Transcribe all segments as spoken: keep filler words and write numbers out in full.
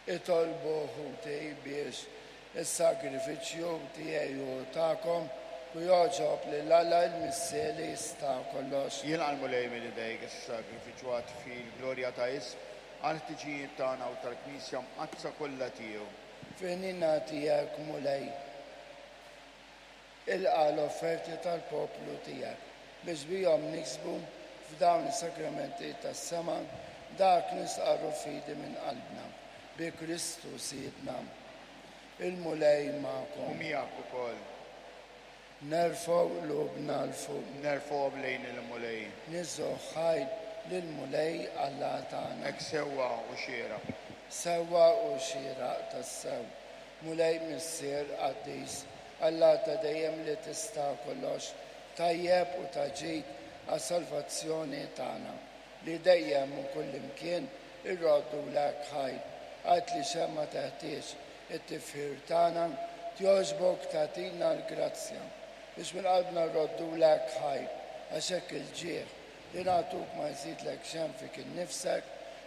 Itolbu ħuti biex is-sagrifiċċju tiegħi u tagħkom u jogħġob lil Alla l-Missier li jista' kollox. Jilqa' l-Mulej minn idejk is-sagrifiċċju għat-tifħir glorja ta' ismu għall-ħtiġijiet tagħna u tal-Knisja Mqaddsa kollha tiegħu. Fil-ħniena tiegħek Mulej, ilqa' l-offerti tal-poplu tiegħek biex bihom niksbu f'dawn is-sakramenti tas-sema dak nistqarru fidi minn qalbna bi Kristu Sidna. Il-Mulej magħkom. U miegħek ukoll. Nerfgħu qlubna 'l fuq. Nerfgħuhom lejn il-Mulej. Niżżu ħajr lill-Mulej Alla tagħna. Hekk sewwa u xieraq. Sewwa u xieraq tassew. Mulej Missier qaddis, Alla ta' dejjem li tista' kollox, tajjeb u ta' ġid għas-salvazzjoni tagħna, li dejjem u kullimkien irroddulek ħajr. Għad li xemma teħtieġ it-tifħir tagħna, togħġbok tagħtina l-grazzja biex minn qalbna rroddulek ħajr, għax hekk il-ġieħ li nagħtuk ma jżidlek xejn fik innifsek,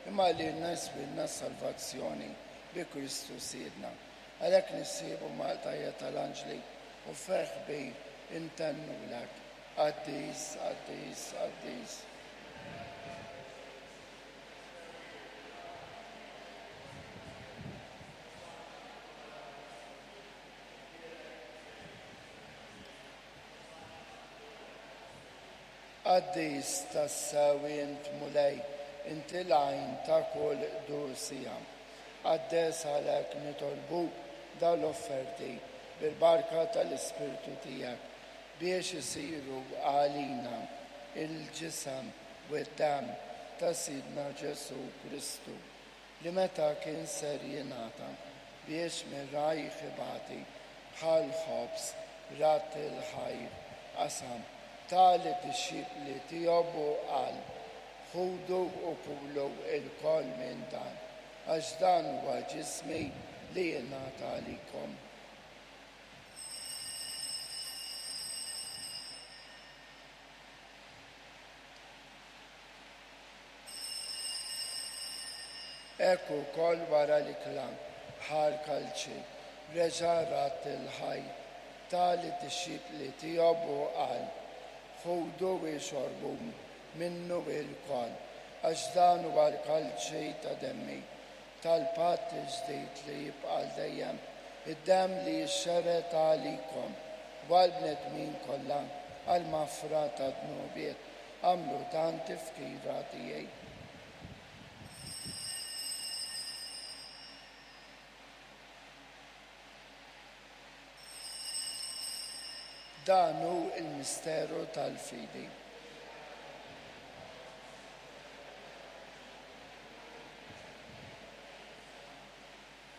imma lilna jiswilna s-salvazzjoni bi Kristu Sidna. Għalhekk nissibu mal-tajja tal-anġli u ferħ kbir intennulek. Qaddis, qaddis, qaddis. Qaddis tassew int Mulej, inti l-għajn ta' kull qdusija. Qaddes għalhekk nitolbu dawn l-offerti bil-barka tal-Ispirtu tiegħek biex isiru għalina il-ġisem u d-demm ta' Sidna Ġesù Kristu, li meta kien ser jingħata biex mir-rajh ibati bħal ħobż radd il-ħajr qasam ta lid-dixxipli tiegħu u qal: Ħudu u kulu lkoll minn dan, għax dan huwa ġismi li jingħata għalikom. Hekk ukoll wara l-ikla ħa l-kalċi, reġa' radd il-ħajr, ta lid-dixxipli tiegħu u qal: Ħudu u xorbu minnu lkoll, għax dan huwa l-kalċi ta' demmi, tal-patt il-ġdid li jibqa' għal dejjem, id-demm li jixxerred għalikom u għall-bnedmin kollha għall-maħfra ta' dnubiet. Agħmlu dan tifkira tiegħi. Dan hu l-misteru tal-fidi.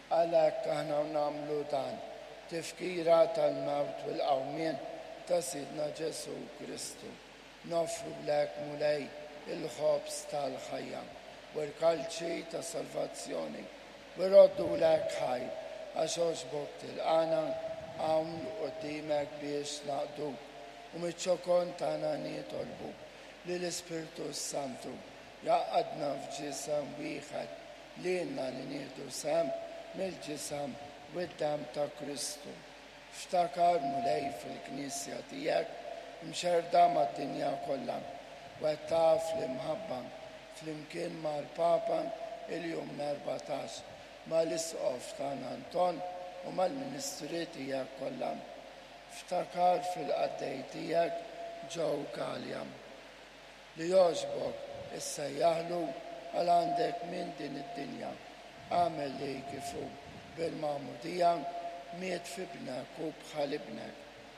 Għalhekk aħna nagħmlu dan, tifkira tal-mewt u l-qawmien ta' Sidna Ġesù Kristu. Noffrulek Mulej il-ħobż tal-ħajja u l-kalċi ta' salvazzjoni u rroddulek ħajr għax għoġbok tilqana hawn quddiemek biex naqduk u miċ-ċokon tagħna nitolbu li l-Ispirtu Santu jgħaqqadna f'ġisem wieħed lilna li nieħdu sehem mill-ġisem u d-demm ta' Kristu. Ftakar Mulej fil-Knisja tiegħek imxerrda mad-dinja kollha u qed taf l-imħabba flimkien mal-Papa il-jum l-erbatax, mal-Isqof tagħna Anton u mal-ministri tiegħek kollha. Ftakar fil-qaddej tiegħek Joe Galea li jogħġbok issejjaħlu għal għandek minn din id-dinja. Agħmel li kif hu bil-magħmudija miet f'ibnek u bħal ibnek,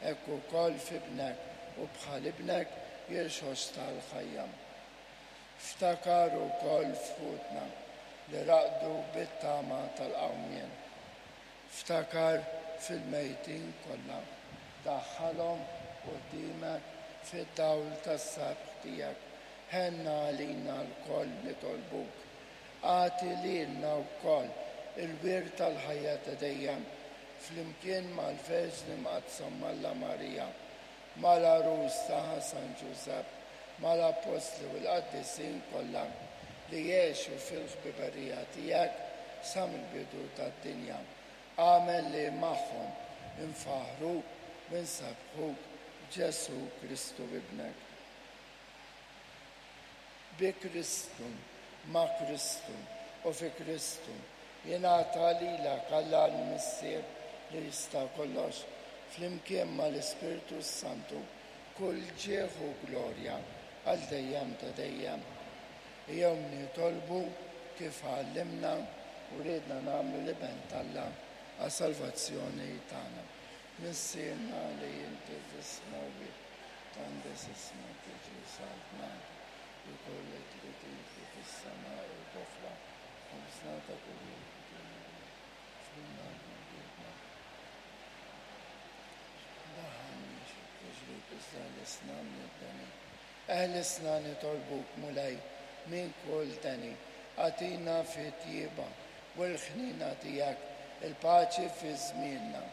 hekk ukoll f'ibnek u bħal ibnek jirxoxta l-ħajja. Ftakar ukoll f'ħutna li raqdu bit-tama tal-qawmien. Ftakar fil-mejtin kollha, daħħalhom quddiemek fid-dawl tas-sebħ tiegħek. Ħenna għalina lkoll nitolbuk. Agħti lilna wkoll il-wirt tal-ħajja ta' dejjem flimkien mal-Verġni Mqaddsa Alla Marija, mal-għarus tagħha San Ġużepp, mal-Appostli u l-qaddisin kollha li jgħixu fil-ħbiberija tiegħek sa mill-bidu tad-dinja. Agħmel li magħhom infaħħruk u nsebbħuk Ġesù Kristu Ibnek. Bi Kristu, ma' Kristu u fi Kristu, jingħata lilek Alla l-Missier li jista' kollox, flimkien mal-Ispirtu Santu, kull ġieħ u glorja għal dejjem ta' dejjem. Ejjew nitolbu kif għallimna u riedna nagħmlu l-Iben t'Alla għas-salvazzjoni tagħna. Missierna li inti fis-smewwiet, tqaddes ismek, tiġi saltnatek, ikun li trid inti fis-sema u fl-art. Ħobżna ta' kuljum atina dnubietna. Daħħalniex fit-tiġrib iżda eħlisna mid-deni. Eħlisna nitolbuk Mulej minn kull deni. Agħtina fit-tjieba u l-ħniena tiegħek il-paċi fi żmienna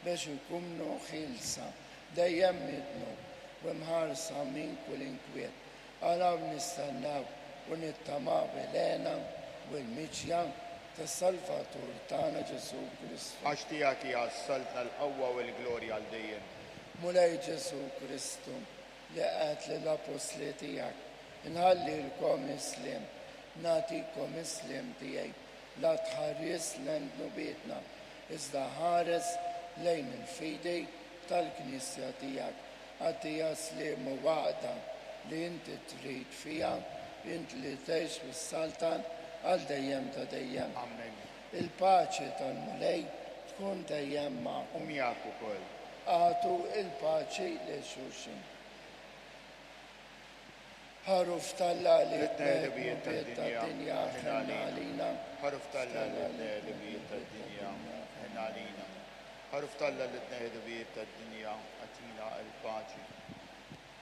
biex nkunu ħielsa dejjem mid-dnub u mħarsa minn kull inkwiet. Għalaw nistennew u nittamaw bil-hena u l-miġja tas-Salvatur tagħna Ġesù Kristu. Għax tiegħek hija s-saltna, l-qawwa u l-glorja għal dejjem. Mulej Ġesù Kristu, li għedt lill-appostli tiegħek, inħallilkom is-sliem, nagħtikom is-sliem tiegħi, la tħares lejn dnubietna, iżda ħares lejn il-fidi tal-Knisja tiegħek. Agħtiha sliem u għaqda li inti trid fiha, int li tgħix u ssaltan għal dejjem ta' dejjem. Amen. Il-paċi tal-Mulej tkun dejjem magħkom. U miegħek ukoll. Agħtu il-paċi lil xulxin. Ħaruf t'Alla li Li tneħħi dnubiet tad-dinja, tad-dinja, ħenn għalina. Ħaruf t'Alla li tneħħi dnubiet tad-dinja, ħenn għalina. Ħaruf t'Alla li tneħħi dnubiet tad-dinja, agħtina l-paċi.